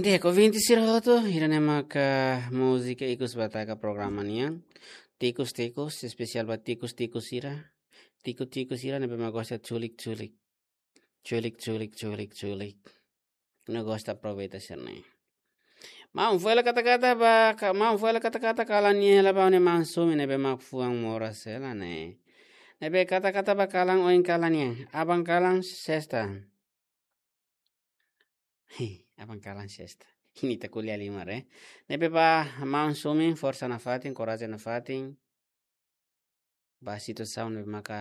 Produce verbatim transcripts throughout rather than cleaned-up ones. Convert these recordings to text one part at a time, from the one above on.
Di'ak, ouvinte sira hotu, ida-ne'e maka múzika ikus ba taka programa nian. Tikus-tikus, espesiál ba tikus-tikus sira. Tikus-tikus sira ne'ebé mak gosta culik-culik. Culik, culik, culik, culik. No gosta aproveita sira-ne'e. Maun, fó hela kata-kata ba, ka-, maun, fó hela kata-kata kalan nian hela ba ne'e maun Sumi ne'ebé mak fuan moras hela ne'e. Ne'ebé kata-kata ba kalan oin kalan nian. Aban kalan sesta. Aban kalan sesta. Ita ko'alia liu maibé. Ne'ebé ba maun Sumi, forsa nafatin, korajen nafatin. Ba situasaun ne'ebé maka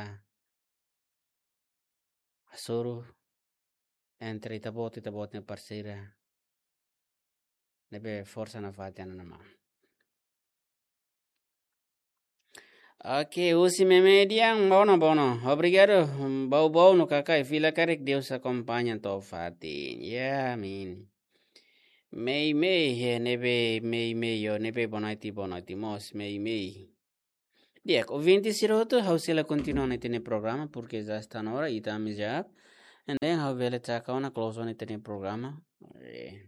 hasoru entre ita-boot, ita-boot nia parseira. Ne'ebé forsa nafatin ona maun. Oke, husi Meme Dian, bono, bono. Obrigadu, bau-bau no kakai, fila karik Deus akompaña to'o fatin. Ya, amin. Mei, mei, eh, ne'ebé, mei, mei, yo, ne'ebé, boa noite, boa noite, mós, mei, mei. Di'ak, ouvinte sira hotu, ha'u sei la kontinua ona ita-nia programa, porque já está na hora, ita ami já. And then, ha'u bele taka ona close ona ita-nia programa. Eh.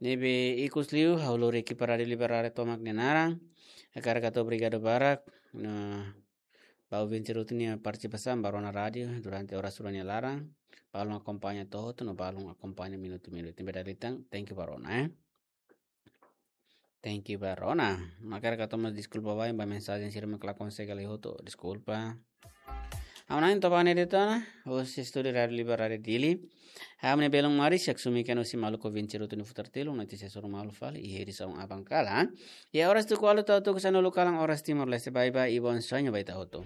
Ne'ebé ikus liu, ha'u lori ekipa Rádiu Liberdade tomak nia naran. Hakarak hato'o obrigadu barak. Nah, ba ouvinte sira hotu nia partisipasaun ba rona rádiu durante oras rua nia laran. Balun akompaña to'o hotu, no balun akompaña minutu-minutu. Ne'ebé dala ida tan, thank you ba rona, eh. Thank you ba rona. Hakarak hato'o mós deskulpa ba, ba mensajen sira mak la konsege halo hotu. Deskulpa. Ha'u na'in Tobane de Tona, husi estúdiu Rádiu Liberdade Dili. Ha'u-nia belun maris, Jack Sumi, kena husi maluk ouvinte sira hotu nia futar telu, notísia suru malu fali, i heri saun aban kalan. I oras tuku ualu to'o tuku sanulu kalan oras Timor-Leste, bye bye, i bom sonho ba ita hotu.